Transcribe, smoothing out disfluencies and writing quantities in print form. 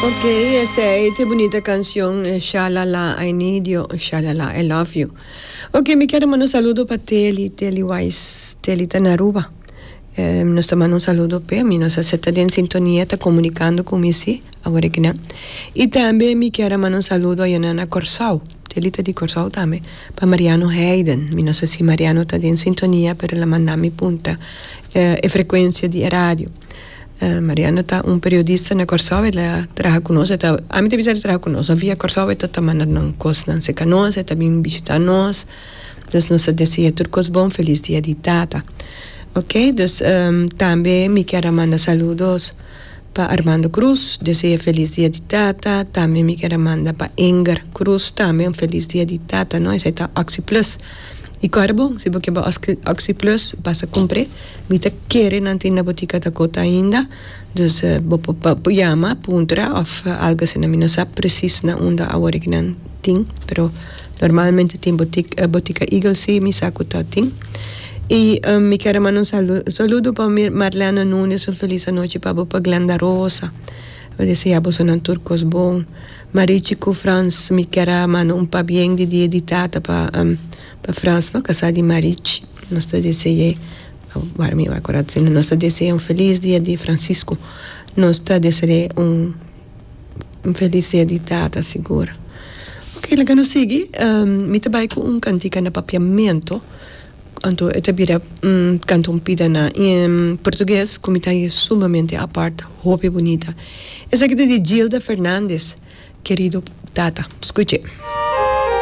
Ok, esei ta e bunita cancion Shalala I need you, shalala I love you. Ok, mi kier a manda un saludo pa Teli, Teli Wise, Teli ta na Aruba. Nos ta manda un saludo p'e, mi no sa si e ta den sintonia, ta comunicando cu mi si, awor aki nan. Y tambe mi kier a manda un saludo ayana na Corsou, Teli ta di Corsou tambe, pa Mariano Heiden. Mi no sa si Mariano ta den sintonia, pero el a manda mi puntra e frecuencia di e radio. Mariano ta un periodista na Kòrsou, el a traha ku nos, e ta, ami ta bisa el a traha ku nos, no via Kòrsou e ta ta manda nan kosnan serka nos, e ta bin bishita nos, dus nos ta desea tur kos bon, felis dia di tata. Ok, dus tambe mi kier a manda saludos pa Armando Cruz, desea felis dia di tata, tambe mi kier a manda pa Inger Cruz tambe un felis dia di tata, no, esei ta Oxi Plus. I kòrda bon, si bo ke bai Oxi Plus basa kumpr'é. Mi ta kere nan tin na botica Dakota ainda, dus bo por yama, puntra of algo asina. Mi no sa precies na unda awor ki nan tin, pero normalmente tin botica Eagle si mi sa cu ta tin. Y mi kier a manda un saludo pa Marlene Nunes, un feliz anochi pa bo, pa Glenda Rosa. Mi desea bosonan tur cos bon. Marichi cu Frans, mi kier a manda un pabien di dia di tata pa. Pa Frans no kasá di Marichi nos ta dese'é wara mi wak ora asina nos ta dese'é un felis dia di Francisco nos ta dese'é un un felis dia di tata sigur ok laga nos sigui mi ta bai ku un kantika na papiamento anto e ta bira kanta un pida na portugues ku mi ta haña sumamente apart hopi bunita esaki ta di Gilda Fernandez. Kerido tata, skuch'é.